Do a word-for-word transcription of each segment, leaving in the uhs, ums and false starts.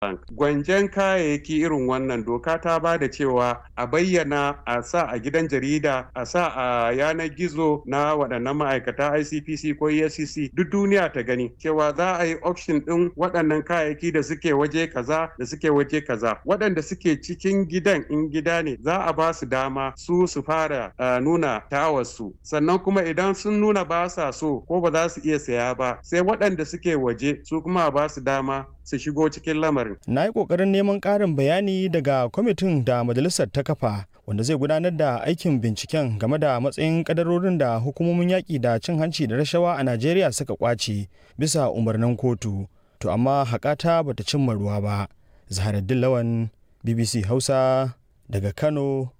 Bank. Gwanjen kayayyaki irin wannan doka ta ba da cewa a bayyana a sa a gidan jarida a sa a yanar gizo na waɗannan ma'aikata I C P C ko E F C C, duk duniya ta gani cewa za a yi auction ɗin waɗannan kayayyaki da suke waje kaza da suke waje kaza. Waɗanda suke cikin gidan, in gida ne, za a ba su dama su su fara uh, nuna tawarsu. Sannan kuma idan sun nuna ba sa so ko ba za su iya saya ba, sai waɗanda suke waje su kuma ba su dama su shigo cikin lamarin. Na yi ƙoƙarin neman ƙarin bayani daga kwamitin da majalisar ta kafa wanda zai gudanar da aikin binciken game da matsayin kadarorin da hukumomin yaƙi da cin hanci da rashawa a Najeriya suka ƙwace bisa umarnin kotu. To amma haƙata bata cimma ruwa ba. Zaharaddin Lawan, B B C Hausa, daga Kano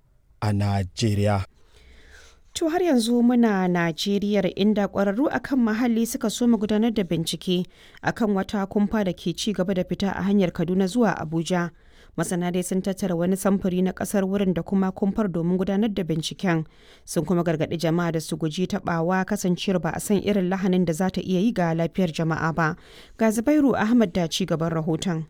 a Najeriya. To, har yanzu muna Najeriya, inda ƙwararru akan muhalli suka soma gudanar da bincike akan wata kumfa da ke ci gaba da fita a hanyar Kaduna zuwa Abuja. Masana dai sun tattara wani samfuri na ƙasar wurin da kuma kumfar domin gudanar da binciken. Sun kuma gargaɗi jama'a da su guji taɓawa, kasancewar ba a san irin lahanin da za ta iya yi ga lafiyar jama'a ba. Ga Zubairu Ahmad da ci gaban rahoton.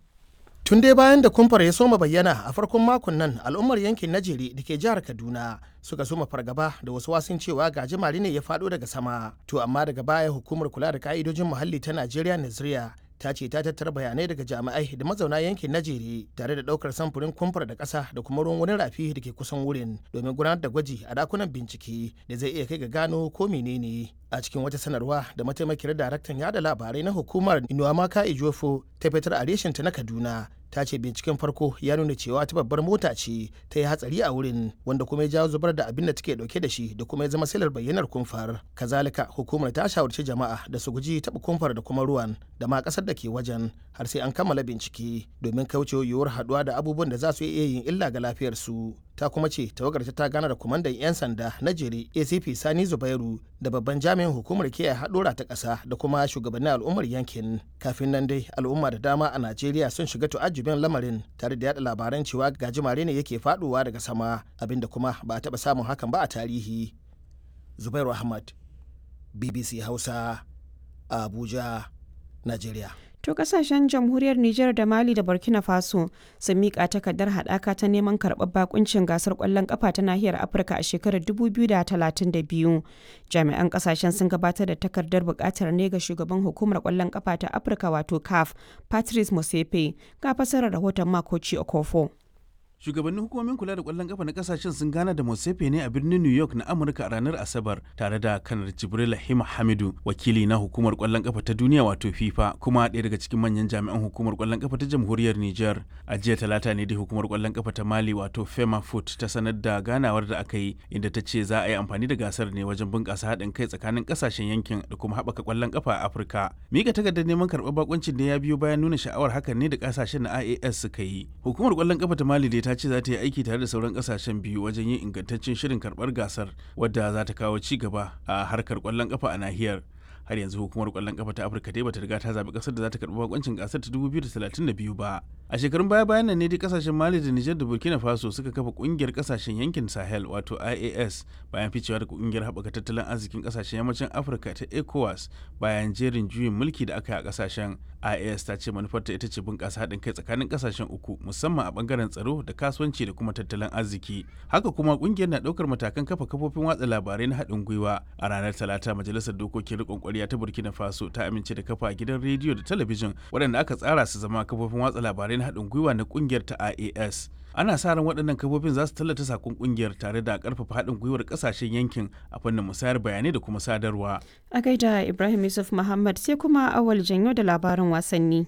Tun dai bayan da kumfar ya soma bayyana a farkon makon nan, al'ummar yankin Najeri da ke jihar Kaduna suka soma fargaba da wasu wasun cewa gajimare ne ya faɗo daga sama. To amma daga baya hukumar kula da ka'idojin muhalli ta Najeriya, Naziriya, ta ce ta tattara bayanai daga jami'ai da mazauna yankin Najeri tare da ɗaukar samfurin kumfar da ƙasa da kuma ruwan wani rafi da ke kusan wurin domin gudanar da gwaji a dakunan bincike da zai iya kai ga gano ko menene. A cikin wata sanarwa da mataimakiyar daraktan yada labarai na hukumar, Inuamaka Ejiofor, ta fitar a reshenta na Kaduna, ta ce binciken farko ya nuna cewa ta babbar mota ce ta yi hatsari a wurin, wanda kuma ya jawo zubar da abin da take dauke da shi da kuma ya zama silar bayyanar kumfar. Kazalika hukumar ta shawarci jama'a da su guji taɓa kumfar da kuma ruwan da ma ƙasar da ke wajen har sai an kammala bincike domin kaucewa yiwuwar haɗuwa da abubuwan da za su iya yin illa ga lafiyarsu. Ta kuma ce tawagar ta gana da kwamandan 'yan sanda na Jere, A C P Sani Zubairu, da babban jami'in hukumar kiyaye haɗura ta ƙasa da kuma shugabannin al'ummar yankin. Kafin nan dai al'umma da dama a Najeriya sun shiga tu'ajjubin lamarin tare da yada labaran cewa gajimare ne yake faɗowa daga sama, abinda kuma ba a taɓa samun hakan ba a tarihi. Zubairu Ahmad, B B C Hausa, Abuja, Najeriya. To, kasashen jamhuriyar Nijar da Mali da Burkina Faso sun miƙa takardar haɗaka ta neman karɓar bakuncin gasar ƙwallon ƙafa ta nahiyar Afirka a shekarar dubu biyu da talatin da biyu. Jami'an kasashen sun gabatar da takardar buƙatar ne ga shugaban hukumar ƙwallon ƙafa ta Afirka, wato CAF, Patrice Motsepe. Ga fasarar rahoton Makoci Okofo. Shugabannin hukumomin kula da kwallon kafa na kasashen sun gana da Motsepe ne a birnin New York na Amurka a ranar Asabar tare da Kanar Jibril Hima Hamidu, wakili na hukumar kwallon kafa ta duniya wato FIFA, kuma ɗaya daga cikin manyan jami'an hukumar kwallon kafa ta jamhuriyar Niger. A jiya Talata ne dai hukumar kwallon kafa ta Mali wato Fema Foot ta sanar da ganawar da aka yi, inda ta ce za a yi amfani da gasar ne wajen bunƙasa haɗin kai tsakanin kasashen yankin da kuma haɓaka kwallon kafa a Afirka. Mika takardar neman karɓar bakuncin ne ya biyo bayan nuna sha'awar hakan ne da kasashen na I A S suka yi. Hukumar kwallon kafa ta Mali dai ta ce za ta yi aiki tare da sauran kasashen biyu wajen yin ingantaccen shirin karbar gasar wadda za ta kawo ci gaba a harkar kwallon kafa a nahiyar. Har yanzu hukumar kwallon kafa ta Afirka dai bata riga ta zabi kasar da za ta karbi bakoncin gasar ta dubu biyu da talatin da biyu ba. A shekarun baya bayan nan ne dai kasashen Mali da Niger da Burkina Faso suka kafa kungiyar kasashen yankin Sahel wato I A S, bayan ficewa daga kungiyar haɓaka tattalin arzikin kasashen yammacin Afirka ta ECOWAS bayan jerin juyin mulki da aka yi a kasashen. I A S ta ce manufarta ita ce bunƙasa haɗin kai tsakanin kasashen uku, musamman a bangaren tsaro da kasuwanci da kuma tattalin arziki. Haka kuma kungiyar na ɗaukar matakan kafa kafofin watsa labarai na haɗin gwiwa. A ranar Talata majalisar dokokin riƙon ƙwarya ta Burkina Faso ta amince da kafa gidan rediyo da talabijin waɗanda aka tsara su zama kafofin watsa labarai na haɗin gwiwa na kungiyar ta I A S. Ana sa ran waɗannan kafofin za su tallata sakon kungiyar tare da ƙarfafa haɗin gwiwar ƙasashen yankin a fannin musayar bayanai da kuma sadarwa. A gaida Ibrahim Yusuf Muhammad. Sai kuma Awal Janyo da labarin wasanni.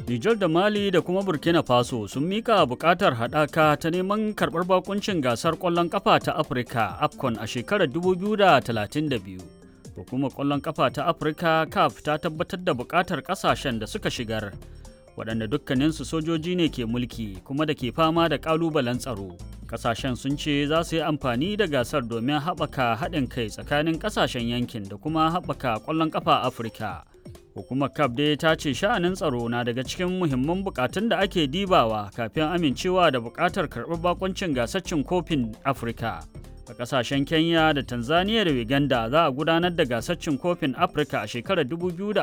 Nijar da Mali da kuma Burkina Faso sun mika bukatar haɗaka ta neman karɓar bakuncin gasar ƙwallon ƙafa ta Afirka AFCON a shekarar dubu biyu da talatin da biyu. Hukumar ƙwallon ƙafa ta Afirka CAF ta tabbatar da bukatar ƙasashen da suka shigar, waɗanda dukkaninsu sojoji ne ke mulki kuma da ke fama da ƙalubalen tsaro. Ƙasashen sun ce za su yi amfani da gasar domin haɓaka haɗin kai tsakanin ƙasashen yankin da kuma haɓaka ƙwallon ƙafa Afirka. Hukumar CAF dai ta ce sha'anin tsaro na daga cikin muhimman bukatun da ake dibawa kafin amincewa da bukatar karɓar bakuncin gasar cin kofin Afirka. A kasashen Kenya da Tanzania da Uganda za a gudanar da gasar cin kofin Afirka a shekarar dubu biyu da ashirin da bakwai.